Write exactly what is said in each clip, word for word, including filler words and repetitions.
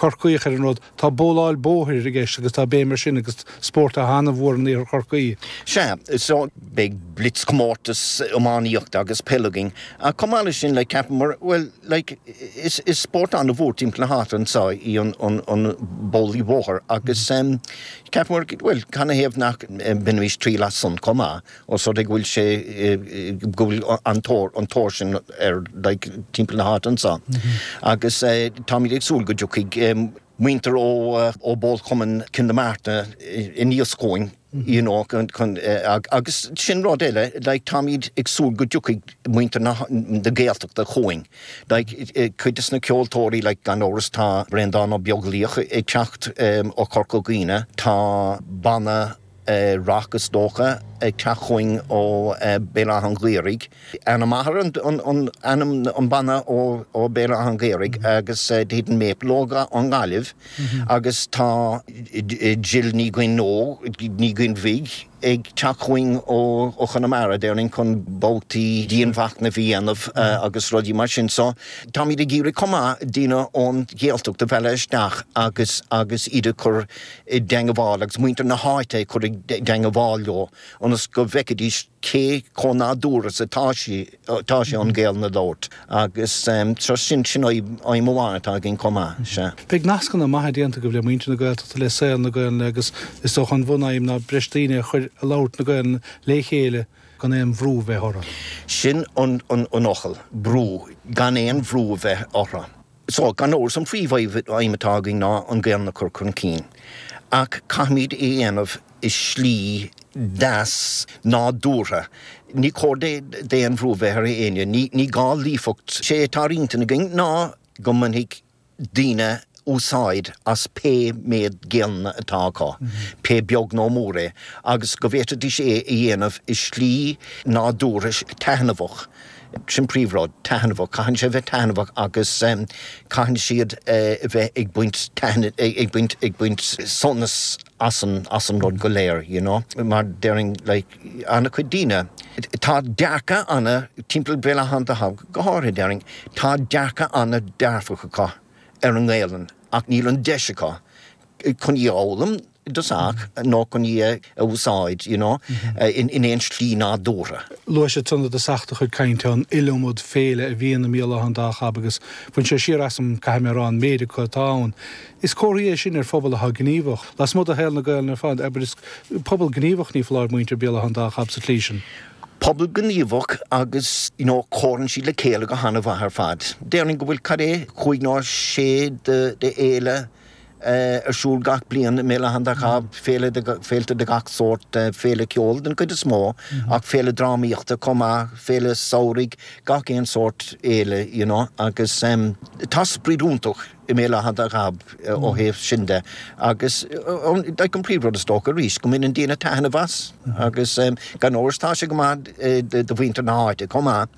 Corcaíoch ar an rud, tá bóláil bóthair i gceist agus tá béim air sin agus spórt an-mhór in iarthar Chorcaí. Sea, so beidh blitzchomórtas iománaíochta agus peile againn. Ach chomh maith leis sin like ceapaim well like is is spórt an-mhór timpeall na háite anseo í an an an bólaí bóthair agus um, ceapaim well canathaobh nach mbainfimis triail as san chomh maith ó so go bhfuil sé go bhfuil an tóir an tóir sin ar like, timpeall na háite anseo. Mm -hmm. Agus uh, táimid ag súil go dtiocfaidh um, muintir ó uh, ó Bhólchumann Cionn na Marta aníos chugainn you know, chun, chun, uh, agus sin rud eile like, táimid ag súil go dtiocfaidh muintir na, na Gaeltachta chugainn. Like, cuid de na ceoltóirí like, gan amhras tá Breandán Ó Beaglaoich ag teacht um, ó Chorca Dhuibhne, tá banna uh, rock is dócha ag teacht chugainn ó uh, Béal Átha an Ghaorthaidh. An Mathar an, an, an, an, an banna ó, ó Béal Átha an Ghaorthaidh mm -hmm. agus uh, The Maple ó an Ghaillimh mm -hmm. agus tá Jill Ní Ghuinn Ní Ghuinn Bhig ag teacht chugainn ó ó Chonamara déarfainn chun babhtaí dianmhachnaimh a dhéanamh mm -hmm. uh, agus rudaí mar sin so táimid ag iarraidh chomh maith daoine ón Ghaeltacht a mhealladh isteach agus agus iad a chur i dteagmháil agus muintir na háite chur i dteagmháil leo ionas go bhfeicfidís cé chomh nádúrtha atá sé tá sé an Ghaelainn a labhairt agus um, so sin sin aidhm amháin atá againn chomh maith sea. Beidh nascanna maithe déanta agaibh le muintir na Gaeltachta le saol na Gaelainne agus is dócha an bhunaidhm ná breis daoine a chur ag labhairt na Gaelainne le chéile gan aon bhrú bheith orthu. Sin an, an, an focal brú gan aon bhrú bheith orthu. So gan amhras an phríomhaidhm atá againn ná an Ghaelainn a chur chun cinn. Ach caithfimid é a dhéanamh i slí deas nádúrtha. Ní cóir d'aon bhrú bheith ar éinne, ní, ní gá líofacht sé atá ar intinn againn ná go mbainfidh daoine úsáid as pé méid Gaelainne atá acu, mm -hmm. pé beag nó mór é, agus go bhféadfaidís é a dhéanamh i slí nádúrtha taitneamhach. Sin príomhrud taitneamhach, caitheann sé bheith taitneamhach agus um, caitheann siad uh, bheith ag baint ag baint ag baint sonas as an as an rud go léir, you know? mar déarfainn like, an-chuid daoine. Tá dearcadh ana timpeall Béal Átha an Dá go háirithe déarfainn, tá dearcadh an-dearfach acu ar an nGaelainn ach níl an deis acu chun í a fhoghlaim dosach nó chun í a úsáid you know, mm -hmm. in, in aon slí nádúrtha. Luaigh sé ansan i dtosach do chuid cainte an iliomad féile a bhíonn i mBéal Átha an Dá Chab agus bhain sé siar asam caithfidh mé a rá an méid acu atá ann. Is comhartha é sin ar phobal atá gníomhach. Lasmuigh de shaol na Gaelainne ar fad, aber is pobal gníomhach ní foláir muintir Béal Átha an Dá Chab sa tslí sin. Pobal gníomhach agus you know, comhaireann siad le chéile go han-mhaith ar fad. Déarfainn go bhfuil cad é cúig nó sé de, de fhéile uh, ar siúl gach bliain i mBéal Átha an Dá Chab féile féilte de gach sórt uh, féile ceoil den chuid is mó mm -hmm. ach féile drámaíochta chomh maith féile samhraidh gach aon sórt fhéile you know, agus um, tá sprid iontach i mBéal Átha an Dá Chab uh, ó thaobh sin de agus like an príomhrud is dócha arís go mbaineann daoine taitneamh as mm -hmm. agus um, gan amhras tá sé go maith uh, do mhuintir na háite chomh maith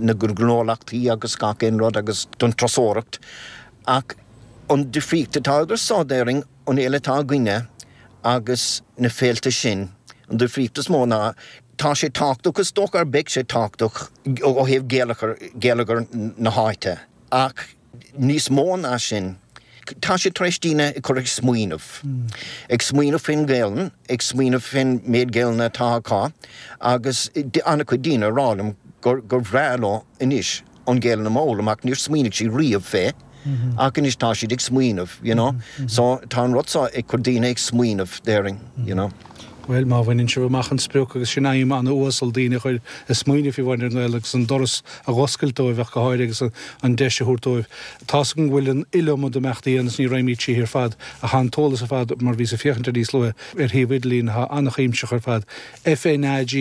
na gnólachtaí agus gach aon rud agus don turasóireacht ach an difríocht atá idir so déarfainn an fhéile atá againne agus na féilte sin an difríocht is mó ná tá sé tábhachtach is dócha beidh sé tábhachtach ó thaobh geilleagar na háite ach níos mó ná sin tá sé tar éis daoine ag cur ag smaoineamh. Mm. Ag smaoineamh faoin nGaelainn, ag smaoineamh faoin méid Gaelainne atá acu agus an-chuid daoine ag rá liom gur gur bhreá leo anois an Ghaelainn a fhoghlaim ach níor smaoinigh siad riamh fé. Mm -hmm. Ach anois tá siad ag smaoineamh, you know. Mm -hmm. So tá an rud seo ag cur daoine ag smaoineamh déarfainn, you know. Well má bhaineann sibh amach an sprioc agus sin aidhm an-uasal daoine a chur ag smaoineamh faoi bhaint an Ghaeilge agus an doras a oscailt dóibh ach go háirithe agus an deis a thabhairt dóibh. Tá go bhfuil an iliomad imeachtaí agus ní raimid sí ar fad a han t-eolas ar fad mar bhí sa féachaint níos luaithe ar shuíomh idirlín atá an-chuimsitheach ar fad. FNAG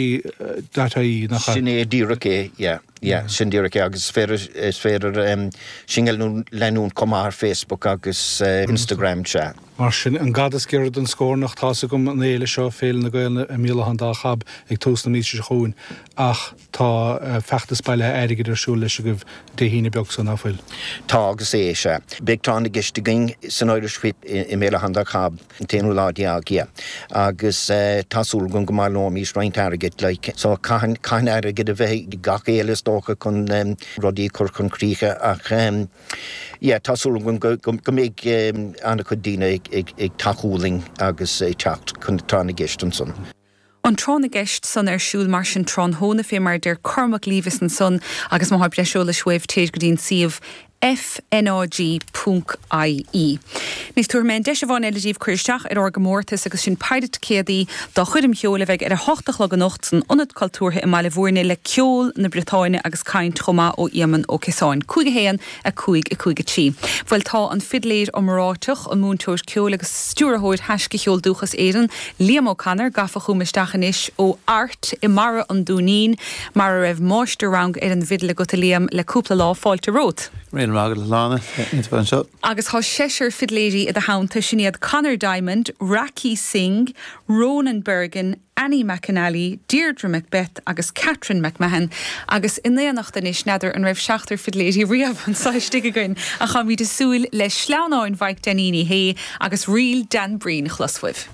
dot ie nach Sin é díreach é, yeah. Yeah, sin díreach é agus féidir is féidir um, sinn a leanúint chomh maith ar Facebook agus uh, Instagram sea. Mar sin an gad is giorra don scornach tá agam an fhéile seo Féile na Gaelainne i mBéal Átha an Dá Chab ag tús na míosa seo chugainn ach tá uh, feachtas bailithe airgid ar siúl leis agaibh Dé hAoine beag seo nach bhfuil. Tá agus é sea. Beidh tráth na gceist againn san Irish Whip i mBéal Átha an Dá Chab an t-aonú lá déag yeah. agus uh, tá súil agam go mbaileoimid roinnt airgid like, so caitheann airgid a bheith gach éile is dócha chun rudaí chur chun críche ach yeah tá súil agam go go mbeidh an-chuid daoine ag ag tacú linn agus ag teacht chun tráth na gceist ansan. An tráth na gceist san ar siúl mar sin tráthnóna fé mar deir Cormac Levis ansan agus má tá breis eolais uaibh téir go dtí an suíomh FNAG ponc IE. Anois tabharfaidh mé an deis amháin eile daoibh cur isteach ar ár gcomórtas agus sin péire ticéadaí do choirm cheoil a bheidh ar a hocht a chlog anocht san Ionad Cultúrtha i mBaile Bhúirne le ceol na Briotáine agus caint chomh maith ó Éamonn Ó Ciosáin. Cúig a haon, a cúig, a cúig a trí. Bhuel tá an fidléir iomráiteach, an múinteoir ceoil agus stiúrthóir Thaisce Cheol Dúchas Éireann, Liam O'Connor, gafa chugam isteach anois ó Art i mBarra an Dúinín mar a raibh máistir-rang ar an bhfidil agat a Liam le cúpla lá. Fáilte romhat. Míle maith agat a Shláine, iontach bheith anseo. Agus tá seisear fidléirí i do theannta, sin iad Conor Diamond, Rakhi Singh, Ronan Bergin, Annie McAnally, Deirdre Macbeth agus Catherine McMahon. Agus in éineacht anois, n'fheadar an raibh seachtar fidléirí riamh anseo istigh againn, ach táimid ag súil le sleamhnáin Mhaidhc Dainín Uí Shé agus ríl Dan Breen a chlos uaibh.